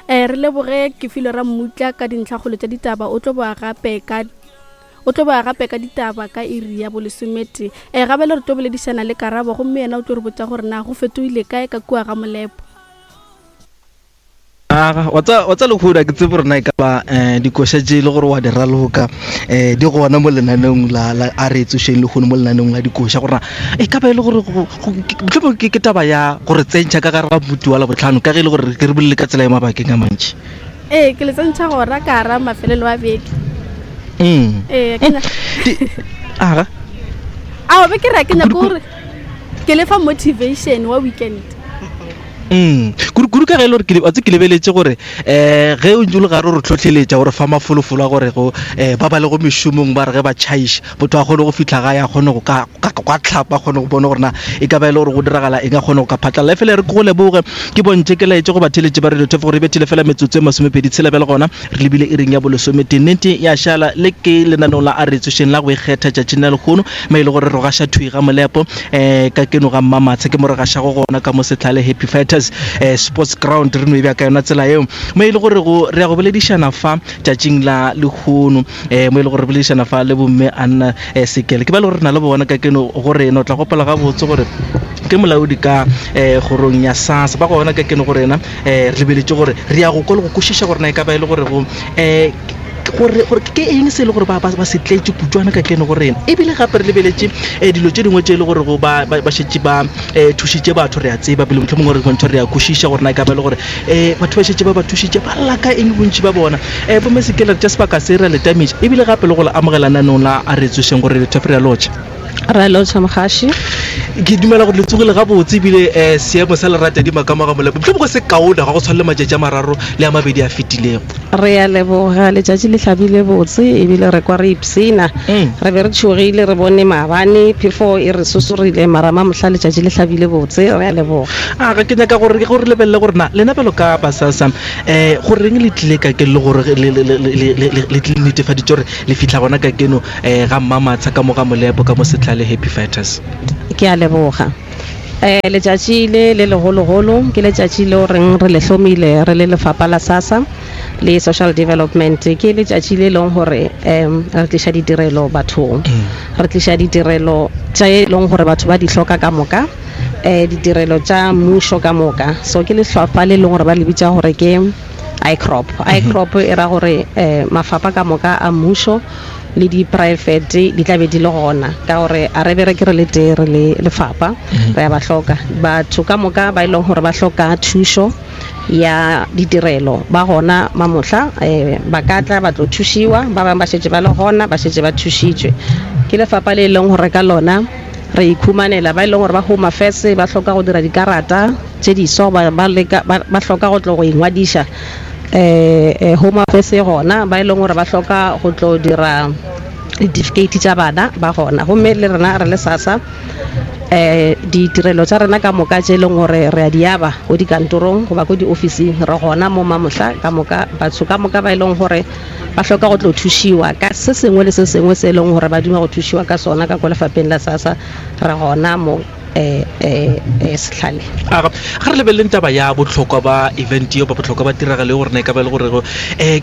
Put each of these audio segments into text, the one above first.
Um re leboge Kefilwe Rammutla ka dintlhakgolo tša ditaba, o tlo boa gape ka o tlo boa gape ka ditaba ka iri ya bolesometee. Um gabele re tlo boledišana le Karabo gomme yena o tlo re botša gore na go fetogile kae ka kua ga Molepo. Aga, wa tsa wa tsa lehono a ke tsebe gore na e ka ba um dikoša tše e le gore wa di raloka um di gona mo lenaneong la la a re tsošeng lehono mo lenaneong la dikoša gore na e ka ba e le gore mohlomongwe ke ke taba ya gore tsentšha ka gare ga motu wa labohlano ka ge e le gore ke re bolele ka tsela ya mabakeng a mantši. Ee, ke le tsentšha gona ka gara mafelelo a beke. Mm. Ee, ke nya- Di- Aga. Ao, be ke re ke nyako gore ke le fa motivation wa weekend. Mm. Kudu kudu ka ge e le gore ke wa tse ke lebeletše gore um ge o ntse o le gare o re tlhotlheletša gore fa mafolofolo a gore go um ba ba lego mešomong ba re ge ba tšhaiša motho a kgone go fitlha gae a kgone go ka ka tlhapa a kgone go bona gore na e ka ba e le gore go diragala eng a kgone go ka phatlalla e fela e re ke go leboge ke bontšhe ke laetše go batheletše ba radio thefo gore e bethile fela metsotso e masomepedi tshela bjale gona Re lebile iring ya bolesometee. Nnete ya šala. Le ke lenaneo la A Re Tsošeng la go ikgetha tšatšing la lehono, mo e le gore re gaša thwi ga Molepo, um ka keno ga Mmamatsha. Ke mo re gašago gona ka mo Sehlale Happy Fighters um Sports Ground. Re no e bea ka yona tsela yeo. Mo e le gore go re ya go boledišana fa tšatšing la lehono, um mo e le gore re boledišana fa le bomme Anna um Sekele. Ke ba le gore re na le bona ka keno go rena. O tla gopola gabotse gore ke molaodi ka um kgorong ya SASSA. Ba gona ka keno go rena. um re lebeletše gore re ya go kwa le go kwešiša gore na e ka ba e le gore go um gore gore ke eng se e le gore ba ba se tletše kutšwana ka keno go rena ebile gape re lebeletše um dilo tše dingwe tše e le gore go ba ba šetše ba um thušitše batho re a tseba pele motlho mongwe re bontšha re a kwešiša gore na e ka ba e le gore um batho ba šetše ba ba thušitše ba lla ka eng bontši ba bona um bomme sekele re tša sebaka se re a le tametša ebile gape le go le amogela nanong la a re tsošeng gore re re a lotšha Re lotšha mogaši. Ke dumela gore le tsogile gabotse ebile um seemo sa leratadima ka mo ga Molepo mohlomongwe se kaone ga go tshwane le matšatši a mararo le a mabedi a fetilego. Re a leboga, letšatši le hlabile botse ebile re kwa re ipshina. Mm. Re be re tšhogile re bone maabane phefo e re sosorile mara mamohla letšatši le hlabile botse, re a leboga. A ga ke nyaka gore gore lebelele gore na lena bjalo ka basasa um goreng le tlile ka ke le gore le le le le le le tlile netefaditše gore le fihla gona ka keno um ga Mmamatsha ka mo ga Molepo ka mo Setlhale Happy Fighters. Ke a leboga. Um letšatši le le legologolo ke letšatši leo reng re le hlomile re le lefapha la SASSA le Social Development. Ke letšatši le leng gore um re tliša ditirelo bathong. Re tliša ditirelo tše e leng gore batho ba di hloka ka moka, um ditirelo tša mmušo ka moka. So ke lehlopha le leng gore ba le bitša gore ke ICROP. ICROP e ra gore um mafapha ka moka a mmušo le dipraefete di tla be di le gona, ka gore a re bereke re le tee re le lefapha, re a ba hloka. Batho ka moka ba e leng gore ba hloka thušo ya ditirelo ba gona mamohla, um ba ka tla ba tlo thušiwa. Ba bangwe ba šetše ba le gona, ba šetše ba thušitšwe ke lefapha le e leng gore ka lona re ikhumanela. Ba e leng gore ba Home Affairs ba hloka go dira dikarata tše diswa, goba ba leka, ba, ba hloka go tlo go ingwadiša um Home Affairs e gona. Ba e leng gore ba hloka go tlo dira ditifikeiti tša bana ba gona. Gomme le rena re le SASSA um ditirelo tša rena ka moka tše e leng gore re a di aba ko dikantorong goba ko diofising, re gona mo mamohla ka moka. Batho ka moka ba e leng gore ba hloka go tlo thušiwa ka se sengwe le se sengwe se e leng gore ba duma go thušiwa ka sona ka ko lefapheng la SASSA, re gona mo eh, eh, eh, Sehlale. Aga, ga re lebeleleng taba ya bohlokwa ba event yeo, ba bohlokwa ba tiragalo ye gore na e ka ba e le gore um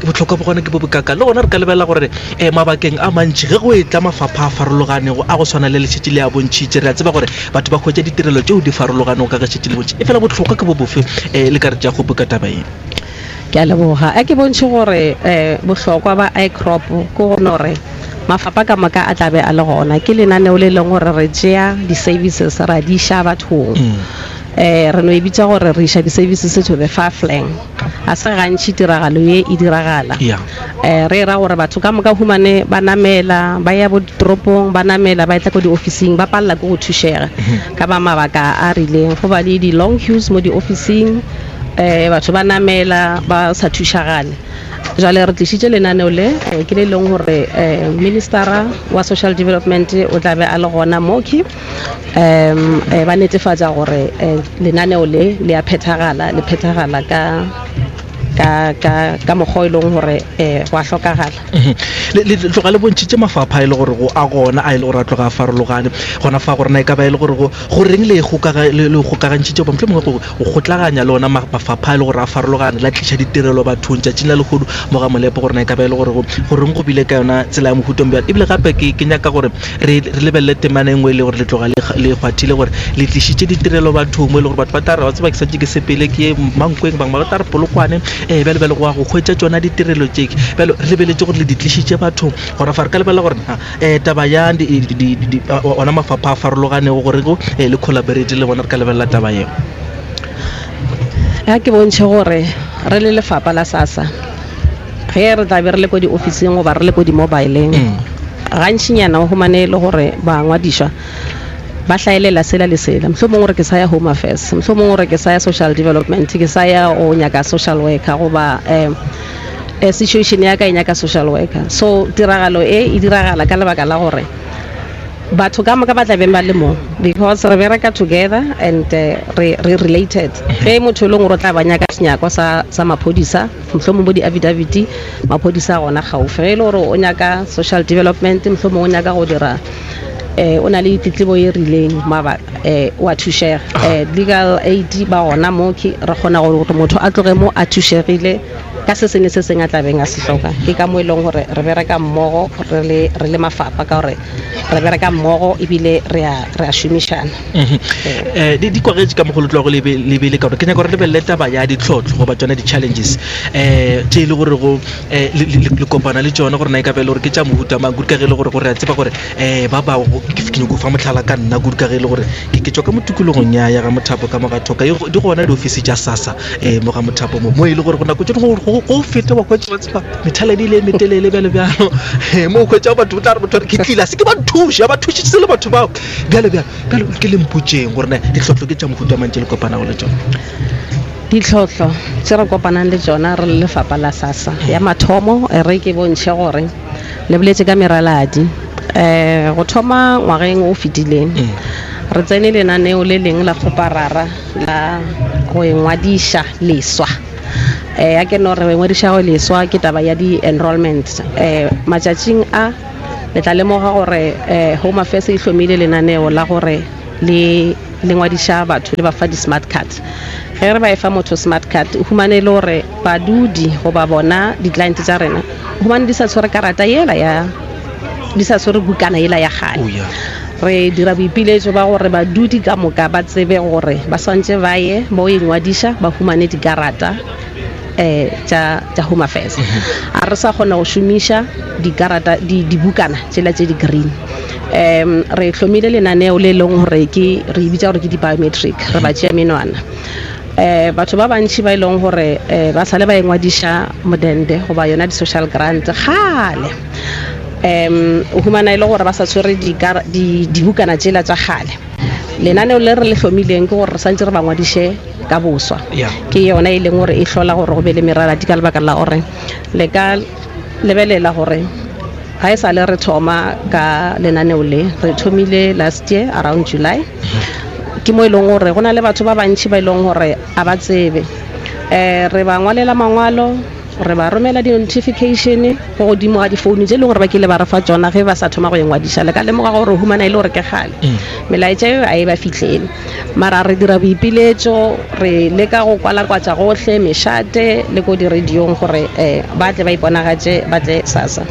bohlokwa ba gona ke bo bokaka. Le gona re ka lebelela gore um mabakeng a mantši ge go etla mafapha a farologanego a go swana le letšatši le a bontšhitše, re a tseba gore batho ba hwetša ditirelo tšeo di farologanego ka ge šetše le bontšhi. Efela bohlokwa ke bo bofe um le ka re tša kgopo ka taba ye? Ke a leboga. A ke bontšhe gore um bohlokwa ba ICROP ke go no re mafapha ka moka a tla be a le gona. Ke lenaneo le leng gore re tšea di-services ra di iša bathong. Um re no e bitša gore re iša di-services to the far flank. Ga se gantši tiragalo ye e diragala. Um re ra gore batho ka moka humane ba namela ba ya bo ditoropong, ba namela ba etla ko diofising, ba palela ke go thušega ka ba mabaka a rileng. Go ba le di-long queues mo diofising, um batho ba namela ba sa thušagale. Jwale re tlišitše lenaneo le, ke le leng gore um ministera wa social development o tla be a le gona moki, um ba netefatša gore um lenaneo le le a phethagala, le phethagala ka. ka ka ka mokgwa o e leng gore um go a hlokagala. Le, le tloga le bontšhitše mafapha a e le gore go a gona a e le gore a tloga a farologane gona fa gore na e ka ba e le gore go goreng le kgokaga le le kgokagantšhitše goba mohlomongwe go go kgotlaganya le ona mafapha a e le gore a farologane la tliša ditirelo bathong tšatšing la lehodu mo ga molepo gore na e ka ba e le gore go goreng go bile ka yona tsela ya mohuta o bjalo ebile gape ke ke nyaka gore re re lebelele temana e nngwe e le gore le tloga le le kgwathile gore le tlišitše ditirelo bathong mo e le gore batho ba tla re wa tseba ke santše ke sepele ke ye Mankweng bangwe ba tla re Polokwane um bjale bjale go ya go hwetša tšona ditirelo tše bjale re lebeletše gore le di tlišitše bathong gona fa re ka lebelela gore na um taba ya ona mafapha a farologanego gore go um le collaborate le bona re ka lebelela taba yeo. Ya ke bontšhe gore re le lefapha la SASSA ge re tla be re le ko diofising goba re le ko di-mobileng gantšinyana o humane e le gore bangwadišwa ba hlaelela sela le sela mohlomongwe gore ke sa ya home affairs mohlomongwe gore ke sa ya social development ke sa ya go nyaka social worker goba um situation ya ka e nyaka social worker. So tiragalo e e diragala ka lebaka la gore batho ka moka ba tla beng ba le mo because re bereka together and re re related. Ge motho e leng gore o tla ba nyaka senyakwa sa sa maphodisa mohlomong bo di-affidavit maphodisa a gona gaufi. Ge e le gore o nyaka social development mohlomong o nyaka go dira um o na le tletlebo e rileng maba um o a thušega. Um legal aid ba gona mo ke re kgona gore motho a tloge mo a thušegile ka se sengwe le se sengwe a tla beng a se hloka. Ke ka mo e leng gore re bereka mmogo re le re le mafapa ka gore re bereka mmogo ebile re a re a šomišana. Um di kwagetše ka mokgwa le tlogo le be le ka gore ke nyaka gore lebelele taba ya ditlhotlho goba tsona di-challenges um tše e le gore go um le kopana le tšona gore na e ka ba e le gore ke tša mohuta mang kudu ka ge e le gore gore re a tseba gore um ba ba ke nyako fa mohlala ka nna kudu ka ge e le gore ke tšwa ka mo tikologong ya ya ga Mothapo ka mo ga Thoka di gona diofisi tša SASSA um mo ga Mothapo mo mo e le gore go nako tše dingwe go go feta wa hwetša wa tseba methaladi e le e metelele bjalo bjalo um mo o hwetša batho o tla re motho ke tlile a se ke ba nthuše ba thušitše le batho bao bjalo bjalo bjalo ke le mpotšeng gore na ditlhohlo ke tša mohuta mang tše le kopanago le tšona. Ditlhohlo tše re kopanang le tšona re le lefapa la SASSA, ya mathomo re ke bontšhe gore le boletše ka meraladi. Um go thoma ngwageng o fetileng re tsene lenaneo le leng la kgoparara la go ingwadiša leswa. Um ya ke no re go ingwadiša go leswa ke taba ya di-enrollment. Um matšatšing a le tla lemoga gore um Home Affairs e hlomile lenaneo la gore le le ngwadiša batho le ba fa di-smart cards. Ge re ba e fa motho smart card, o humane e le gore badudi goba bona di-client tša rena o humane di sa tshwere karata yela ya di sa tshwere bukana yela ya kgale. Oh, yeah. Re dira boipiletšo ba gore badudi ka moka ba tsebe gore ba swantše ba ye ba o ingwadiša ba humane dikarata um tša tša Home Affairs. A re sa kgona go šomiša dikarata di dibukana tšela tše di green. Um re hlomile lenaneo le leng gore ke re e bitša gore ke di-biometric, re ba tšea menwana. Um batho ba bantši ba e leng gore um ba sale ba ingwadiša modende goba yona di-social grant kgale. Um o humana e le gore ba sa tshwere dibukana tšela tša kgale. Lenaneo le re le hlomileng ke gore re santše re ba ngwadiše ka boswa. Ke yona e leng gore e hlola gore go be le meraladi ka lebaka la gore le ka lebelela gore ga e sa le re thoma ka lenaneo le, re thomile last year around July. Ke mo e leng gore go na le batho ba bantši ba e leng gore a ba tsebe. Um re ba ngwalela mangwalo, re ba romela di-notification go godimo ga difounu tše e leng gore ba kile ba re fa tšona ge ba sa thoma go ingwadiša. Le ka lemoga gore o humana e le gore ke kgale melaetša eo a e ba fihlele, mara re dira boipiletšo, re leka go kwalakwatša gohle mešate le ko di-radiong gore um ba tle ba iponagatše, ba tle SASSA.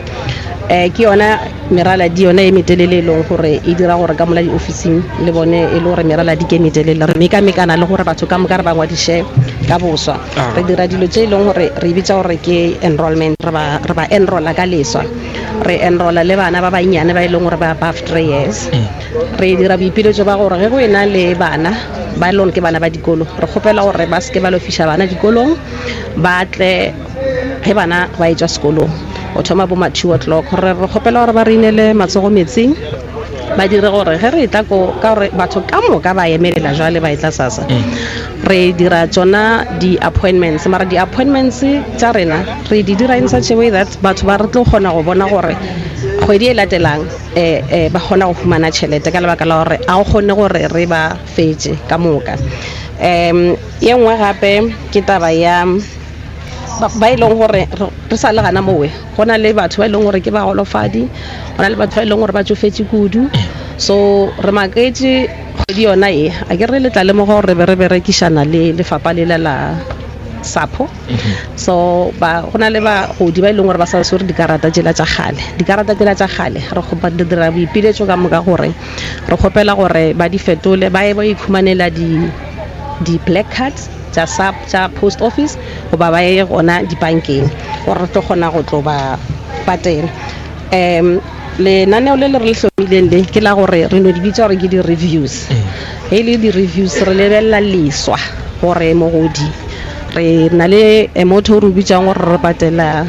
Um ke yona meraladi yona e metelele e leng gore e dira gore ka mola diofising le bone e le gore meraladi ke e metelele, re mekamekana le gore batho ka moka re ba ngwadiše ka boswa. Re dira dilo tše e leng gore re bitša gore ke enrollment, re ba re ba enrolla ka leswa, re enrolla le bana ba bannyane ba e leng gore ba above 3 years. Re dira boipiletšo ba gore ge go ena le bana ba e leng gore ke bana ba dikolo, re kgopela gore ba seke ba lo fiša bana dikolong, ba tle ge bana ba etšwa sekolong go thoma bo ma 2 o'clock. Re re kgopela gore ba re inele matsogo metsing, ba dire gore ge re etla ko, ka gore batho ka moka ba emelela jwale ba etla SASSA, re dira tšona di-appointments, mara di-appointments tša rena re di dira in such a way that batho ba re tlo kgona go bona gore kgwedi e latelang um ba kgona go humana tšhelete, ka lebaka la gore a go kgone gore re ba fetše ka moka. Um ye nngwe gape ke taba ya Ba e leng gore re sa le gana mowe, go na le batho ba e leng gore ke bagolofadi, go na le batho ba e leng gore ba tšofetše kudu. So re maketše kgwedi yona ye, a ke re le tla lemoga gore re be re berekišana le lefapha lela la SAPO. So ba go na le bagodi ba e leng gore ba sa swere dikarata tšela tša kgale. Dikarata tšela tša kgale re kgopa re dira boipiletšo ka moka gore re kgopela gore ba di fetole, ba ye ba ikhumanela di di-black cards tša SAP tša post office goba ba ye gona dibankeng gore re tlo kgona go tlo ba patela. Um lenaneo le le re le hlomileng le ke la gore re no di bitša gore ke di-reviews. Ge e le di-reviews re lebelela leswa gore mogodi re na le eh, motho o re o bitšang gore re patela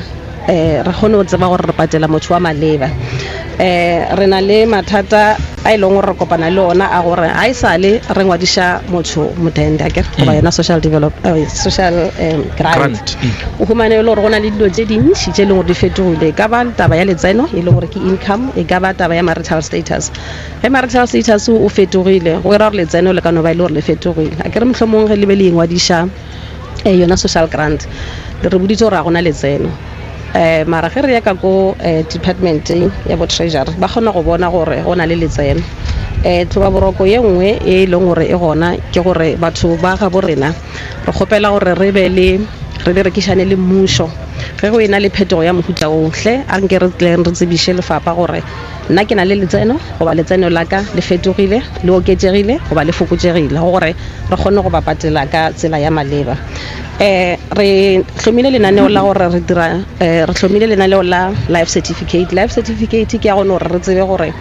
um re kgone go tseba gore re patela motho wa maleba. Um re na le mathata a e leng gore re kopana le ona a gore ga e sale re ngwadiša motho modende akere goba yona social develop eh, social um, grant Grant, mm. o humane e le gore go na le dilo tše dintši tše e leng gore di fetogile e ka ba taba ya letseno e leng gore ke income e ka ba taba ya marital status ge marital status o fetogile go era gore letseno le ka no ba e le gore le fetogile a kere mohlomong ge le be le ingwadiša eh, yona social grant le re boditse gore ga gona letseno um mara ge re ya ka ko um departmenteng ya bo treasury ba kgona go bona gore go na le letseno um tlhoba boroko ye nngwe e leng gore e gona ke gore batho ba gabo rena re kgopela gore re be le re berekišane le mmušo ge go e na le phetogo ya mohuta ohle a nke re tleng re tsebiše lefapha gore nna ke na le letseno goba letseno la ka le fetogile le oketšegile goba le fokotšegile gore re kgone go ba patela ka tsela ya maleba. Um re hlomile lenaneo la gore re dira um re hlomile lenaneo la life certificate. Life certificate ke ya gone gore re tsebe gore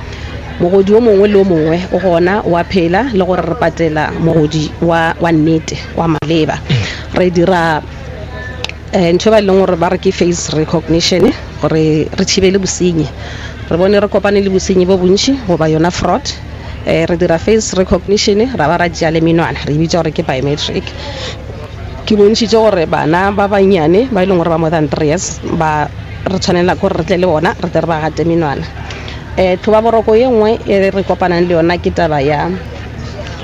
mogodi o mongwe le o mongwe o gona wa phela le gore re patela mogodi wa wa nnete wa maleba. Re dira um ntho e ba e leng gore ba re ke face recognition gore re thibele bosenyi. Re bone re kopane le bosenyi bo bontši goba yona fraud. Eh, re dira face recognition ra ba ra tšea le menwana re e bitša gore ke biometric. Ke bontšhitše gore bana ba bannyane ba e leng gore ba more than 3 years ba re tshwanela ke gore re tle le bona re tle re ba gate menwana. Um tlhoba boroko ye nngwe e re kopanang le yona ke taba ya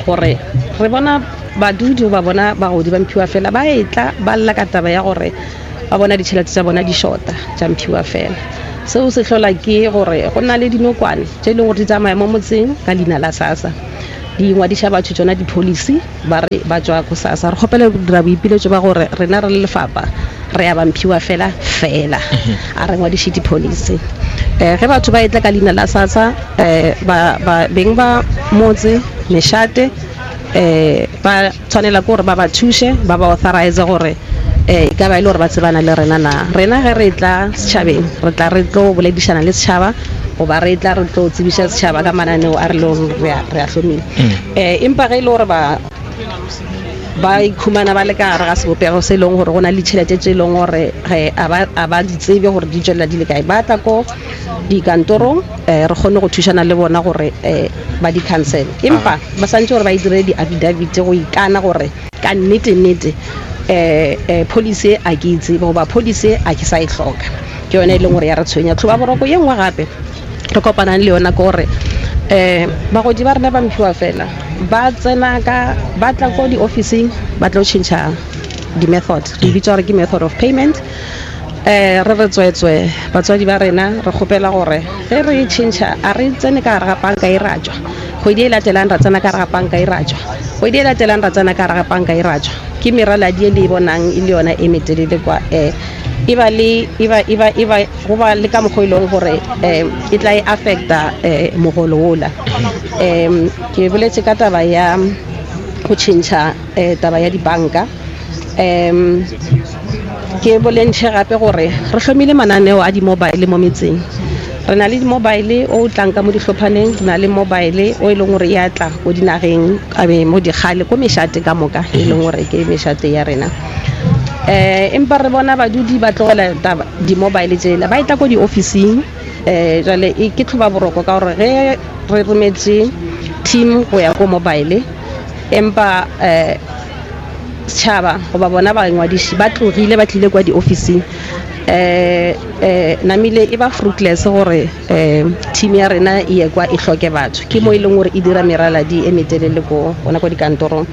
gore re bona badudi ba bona bagodi ba mphiwa fela ba etla ba lla ka taba ya gore ba bona ditšhelete tša bona di shota tša mphiwa fela. Seo se hlola ke gore go na le dinokwane tše e leng gore di tsamaya mo motseng ka leina la SASSA, di ngwadiša batho tšona di-policy ba re ba tšwa ko SASSA. Re kgopela go dira boipiletšo ba gore rena re le lefapha re ya ba mphiwa fela fela, a re ngwadiše di-policy. Um ge batho ba etla ka leina la SASSA um beng ba motse mešate um ba tshwanela ke gore ba ba thuše ba ba authorize gore um e ka ba e le gore ba tsebana le rena na. Rena ge re tla setšhabeng re tla re tlo boledišana le setšhaba goba re tla re tlo tsebiša setšhaba ka mananeo a re leng re a hlomile. Um empa ge e le gore ba ba ikhumana ba le ka gare ga sebopego se e leng gore go na le ditšhelete tše e leng gore a ba di tsebe gore di tšwelela di le kae, ba tla ko dikantorong um re kgone go thušana le bona gore um ba di cancel. Empa ba santse gore ba e dire di-affidavit go ikana gore ka nnete nnete um policy a ke e tsebe goba policy a ke sa e hloka. Ke yone e leng gore ya re tshwenya. Tlhoba boroko ye nngwe gape re kopanang le yona ke gore um bagodi ba rena ba mphiwa fela ba tsena ka ba tla ko di-officing ba tlo tšhentšha di-method, re bitsa gore ke method of payment. Um re re tswetswe batswadi ba rena re kgopela gore ge re tšhentšha a re tsene ka gare ga panka e ra tšwa, kgwedi e latelang ra tsena ka gare ga panka e ra tšwa, kgwedi e latelang ra tsena ka gare ga panka e ra tšwa. Ke meraladi e le e bonang e le yona e metelele kwa um e ba le e ba e ba e ba go ba le ka mokgwa e leng gore um e tla e affecta um mogolo ola. Um ke boletše ka taba ya go tšhentšha um taba ya dibanka. Um ke bolentšhe gape gore re hlomile mananeo a di-mobile mo metseng. Re na le di-mobile o tlang ka mo dihlophaneng, re na le mobile o e leng gore ya tla ko dinageng mo dikgale ko mešate ka moka e leng gore ke mešate ya rena. Um empa re bona badudi ba tlogela di-mobile tsela ba e tla ko di-officing. Um jale e ke tlhoba boroko ka gore ge re rometše team go ya ko mobile empa um setšhaba goba bona bangwadiši ba tlogile ba tlile kwa di-officing um um namile e ba fruitless gore um team ya rena e ye kwa e hloke batho. Ke mo e leng gore e dira meraladi e metelele ko gona ko dikantorong.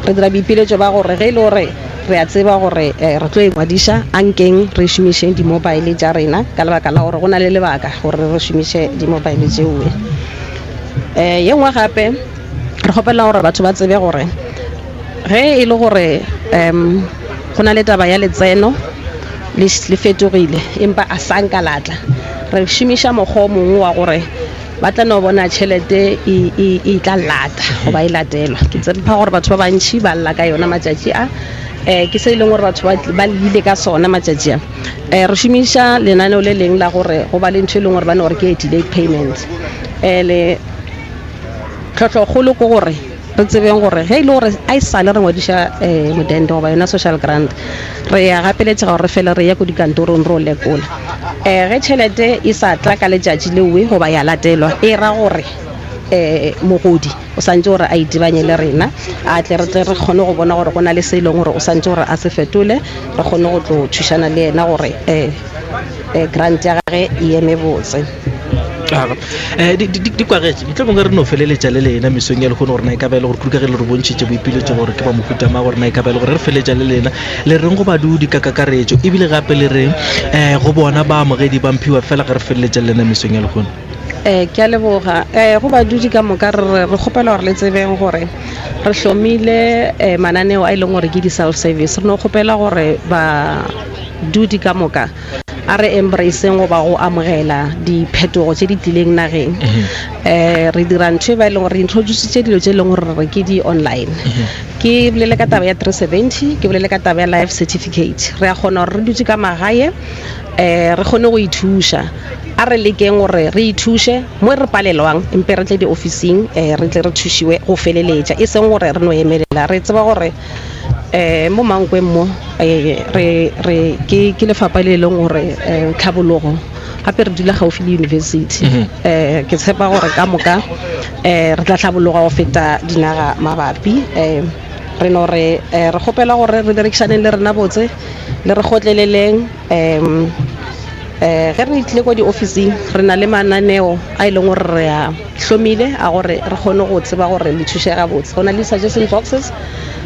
Re dira boipiletšo ba gore ge e le gore Re a tseba gore re tlo ingwadiša, ankeng re šomišeng di-mobile tša rena ka lebaka la gore go na le lebaka gore re šomiše di-mobile tšeoe. Ye nngwe gape re kgopela gore batho ba tsebe gore ge e le gore um go na le taba ya letseno le fetogile empa a sa nka la tla, re šomiša mokgwa o mongwe wa gore ba tla no bona tšhelete e, e, e tla lata goba e latelwa. Ke tshepa gore batho ba bantši ba lla ka yona matšatši a, um ke se e leng gore batho ba llile ka sona matšatši a. Um re šomiša lenaneo le leng la gore go ba le ntho e leng gore ba no gore ke delayed payment. Um le tlhohlokgolo ke gore re tsebeng gore ge e le gore a e sale re ngwadiša um modende goba yona social grant, re ya gapeletšega gore re fele re ya ko dikantorong re o lekola. Um ge tšhelete e sa tla ka letšatši leowe goba ya latelwa, e ra gore um mogodi o santše gore a itebanye le rena, a tle re tle re kgone go bona gore go na le se e leng gore o santše gore a se fetole, re kgone go tlo thušana le yena gore um grant ya gage e eme botse. Eh, di kwagetše mohlomongwe re no feleletša le lena mesong ya lehono gore na e ka ba e le gore kudu ka ge le re bontšhitše boipiletšo gore ke ba mohuta ma gore na e ka ba e le gore re feleletša le lena le reng go badudi ka kakaretšo ebile gape le reng um go bona baamogedi ba mphiwa fela ge re feleletša le lena mesong ya lehono. Um ke a leboga. Um go badudi ka moka re re kgopela gore le tsebeng gore re hlomile um mananeo a e leng gore ke di-self service. Re no kgopela gore badudi ka moka a re embraceng goba go amogela diphetogo tše di tlileng nageng. Um re dira ntho e ba e leng gore re introducitše dilo tše e leng gore re ke di-online. Ke bolele ka taba ya 370, ke bolele ka taba ya life certificate. Re a kgona gore re dutše ka magae um re kgone go ithuša. A re lekeng gore re ithuše mo re palelwang, empe re tle diofising um re tle re thušiwe go feleletša, e seng gore re no emelela. Re tseba gore um mo Mankweng mo eh, re re ke ke lefapha le e leng gore um tlhabologo gape re dula gaufi le university. Um ke tshepa gore ka moka um re tla tlhabologa go feta dinaga mabapi. Um re no re eh, re kgopela gore re berekišaneng le rena botse, le re kgotleleleng. Um um ge re tlile ko diofising re na le mananeo a e leng gore re a hlomile a gore re kgone go tseba gore le thušega botse. Go na le di-suggestion boxes,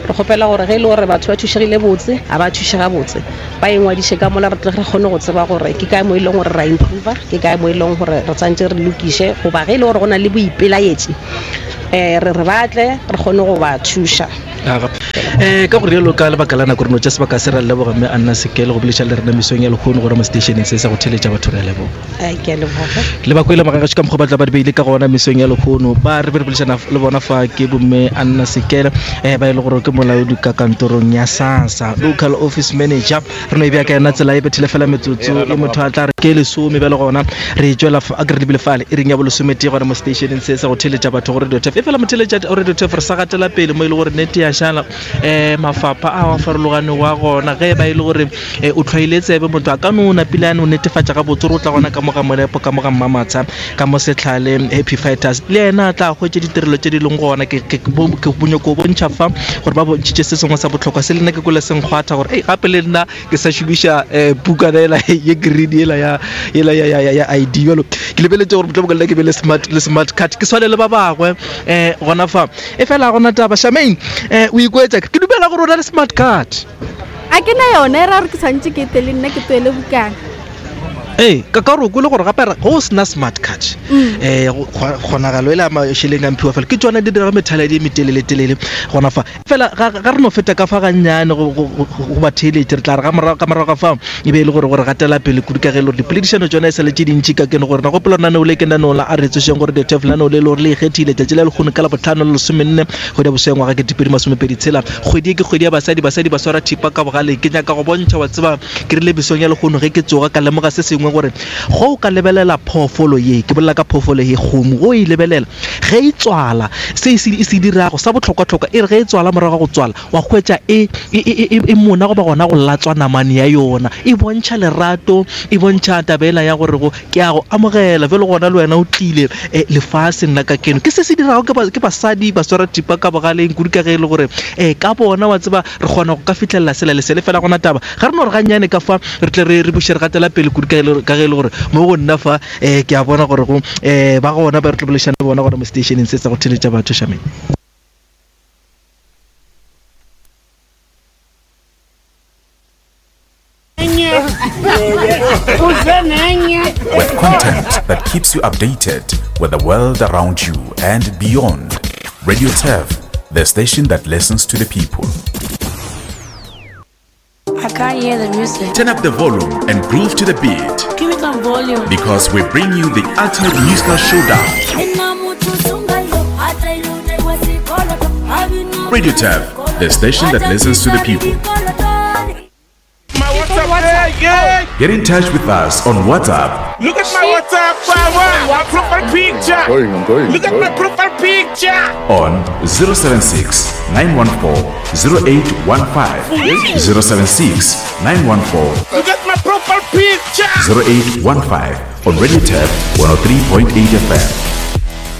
re kgopela gore ge e le gore batho ba thušegile botse, a ba thušega botse, ba ingwadiše ka mola re tle re kgone go tseba gore ke kae mo e leng gore ra improva, ke kae mo e leng gore re tsantše re lokiše, goba ge e le gore go na le boipelaetši um re re batle re kgone go ba thuša. Aga. Eh, ka go rialo ka lebaka la nako re no tša sebaka se ra leboga mme Anna Sekele go bolediša le rena mesong ya lehono gore mo seteišeneng se sa go theletša batho re a leboga. Ai, ke a leboga. Le ba kwele magagašo ka mokgwa ba tla ba di beile ka gona mesong ya lehono ba re be re boledišana le bona fa ke bomme Anna Sekele eh, ba e le gore ke molaodi ka kantorong ya SASSA local office manager. Re no e bea ka yona tsela e bethile fela metsotso e motho a tla re ke lesome bjale gona re tšwela a ke re lebile fale e reng ya bolesometee gona mo stationeng se sa go theletša batho go Radio Turf. E fela motheletša o Radio Turf re sa gatela pele mo e le gore nete ya šala um mafapha a a farologanego a gona ge e ba e le gore um o tlhwaile tsebe motho a ka no napile a no netefatša gabotse gore o tla gona ka mo ga Molepo ka mo ga Mmamatsha ka mo Setlhale Happy Fighters le yena a tla hwetše ditirelo tše di leng gona. Ke ke ke nyoko bontšha fa gore ba bontšhitše se sengwe sa bohlokwa se le nna ke kwele se nkgwatha gore ei gape le nna ke sa šomiša um pukana ela ye green yela ya yela ya ya ya ID bjalo ke lebeletše gore mohlomongwe le nna ke be le smart le smart card ke swane le ba bangwe um gona fa e fela gona taba Charmaine um o ikwetša ke dumela gore o na le smart card. A ke na yona e ra gore ke tshwanetse ke tle le nna ke tloele bukana. Ee, ka ka gore o kwele gore gape go o sena smart card um kgonagalo e le ya mašeleng a mphiwa fela ke tsona di dira methaladi e metelele-telele gona fa. Fela ga ga re no feta ka fa gannyane go go go batheeletši re tla re ga morago ka morago ga fao e be e le gore gore gatela pele kudu ka ge e le gore dipoledišano tsona e sa le tše dintši ka keno gore na gopola lenaneo le ke lenaneo la a re tsošeng gore the turf lenaneo le e le gore le ikgethile tšatši la lekgono ka labohlano le lesomenne kgwedi ya bosweng ngwaga 2026 kgwedi e ke kgwedi ya basadi basadi ba swara thipa ka bogale ke nyaka go bontšha wa tseba Ke rile mesong ya lehono ge ke tsoga ka lemoga se sengwe gore ge o ka lebelela phoofolo ye, ke bolela ka phoofolo ye, kgomo, ge o e lebelela ge e tswala, se e se, e se dirago sa bohlokwahlokwa, e re ge e tswala morago ga go tswala, wa hwetša e, e, e, e, e mona goba gona go latswa namane ya yona. E bontšha lerato, e bontšha taba yela ya gore go, ke a go amogela, bjalo gona le wena o tlile eh, lefaseng la ka keno. Ke se se dirago ke, ba, ke basadi ba swara thipa ka bogaleng kudu ka ge e le gore eh, ka bona wa tseba re kgona go ka fihlelela sela le sele. Fela gona taba ga re no re gannyane ka fa re tle re re buše re gatela pele kudu ka ge e le gore mo go nna fa um ke a bona gore go um ba gona ba re tlo boledišana le bona gona mo stationeng se sa go theletša batho Shameng. With content that keeps you updated with the world around you and beyond. Radio Turf, the station that listens to the people. I can't hear the music. Turn up the volume and groove to the beat. Give me some volume. Because we bring you the ultimate musical showdown. Radio Turf, the station that listens to the people. Get in touch with us on WhatsApp. Look at my WhatsApp, my profile picture. I'm going, I'm going. Look at my profile picture. On 076 914 0815. 076 914 Look at my profile picture. 0815 on Radio Turf 103.8 FM.